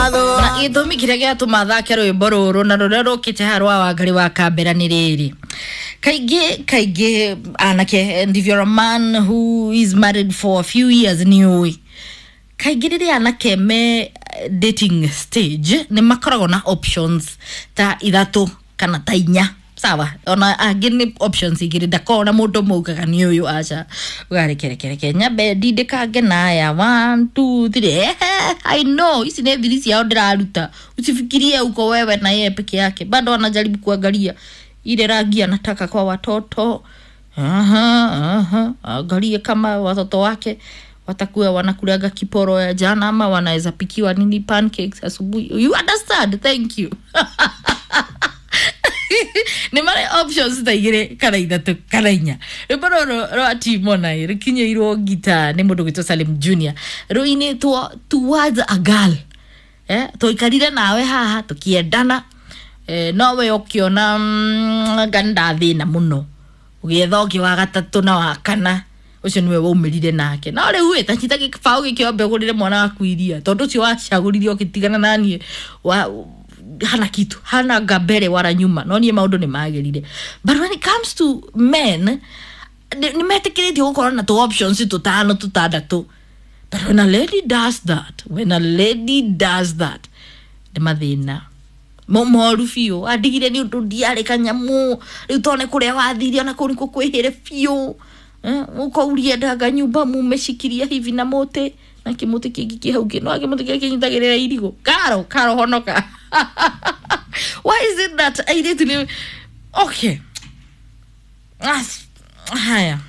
Na gĩtũmi kĩrĩa gĩatũma thake rwĩmbo rũrũ na rũrĩa rũkĩte haha rwa Wangari wa Kambera nĩ rĩrĩ: kaingĩ kaingĩ anake, and if you're a man who is married for a few years, nĩ ũĩ kaingĩ rĩrĩa anake me dating stage nĩ makoragwo na options ta ithatũ kana ta inya, sawa? Ona angĩ nĩ options igĩrĩ, ndakorwo na mũndũ ũmwe ugaga nĩ ũyũ, aca, ũgarekerekereke nyambe ndindĩkange naya, one two three. Ehe, I know ici nĩ thiri ciao ndĩraruta. Usifikirie uko wewe na yeye peke yake, bado anajaribu kuangalia ile rangi anataka kwa watoto. Aha, aha, angalie kama watoto wake watakuwa wanakulaga kiporo ya jana ama wanaweza pikiwa nini, pancakes asubuhi. You understand? Thank you. Nĩ marĩ options ta igĩrĩ kana ithatũ kana inya. Rwĩmbo rũrũ rwa Timona rũkinyĩirwo ngita nĩ mũndũ gwĩtwo Salim Junior, rũinĩtwo Towards a Girl. Tũikarire nawe haha tũkĩendana, nowe ũkĩona nga nĩndathĩna mũno, ũgĩetha ũngĩ wa gatatũ na wa kana, ũcio nĩwe waumĩrire nake. No rĩu ĩ tanyita gĩbaũ gĩkĩombe ũgũrĩre mwana waku iria, tondũ ũcio wacagũrire ũgĩtigana naniĩ wa hana kitu, hana ngambere wala nyuma. No niĩ maũndũ nĩ magĩrire. But when it comes to men, nĩ metĩkĩrĩtio gũkorwo na tũ options tũtano tũtandatũ. But when a lady does that, when a lady does that, nĩ mathĩna moru biũ. Andigire nĩ ũndũ ndiarĩ kanyamũ, rĩu tone kũrĩa wathire ona kũu nĩkuo kwĩhĩre biũ. Ũkauria nyumba mumeshikiria hivi na mũtĩ na kĩmũtĩ kĩngĩ kĩ hau kĩ no kĩmũtĩ kĩrĩa kĩnyitagĩrĩra irigũ. Karo karo honoka. Why is it that airĩtu nĩ okay? As, haya.